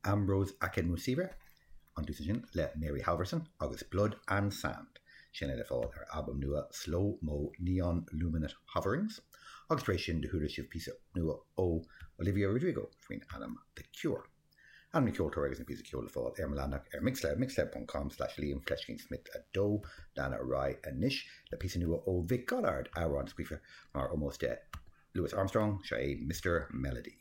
Ambrose Akinmusire an dtús ansin le Mary Halvorson agus Blood and Sand, sin é le fáil ar a albam nua Slow Mo Neon Luminate Hoverings. Agus tar éis sin do chuala sibh píosa nua ó Olivia Rodrigo faoin ainm The Cure. Ainm na ceoltóra agus an píosa ceoil le fáil ar mo leathanach ar Mixcloud, mixcloud com slash Liam fleiscín Smith 2. Lean ar aghaidh anois le píosa nua ó Vic Godard, amhrán scríofa mar ómós do Louis Armstrong, seo é Mister Melody.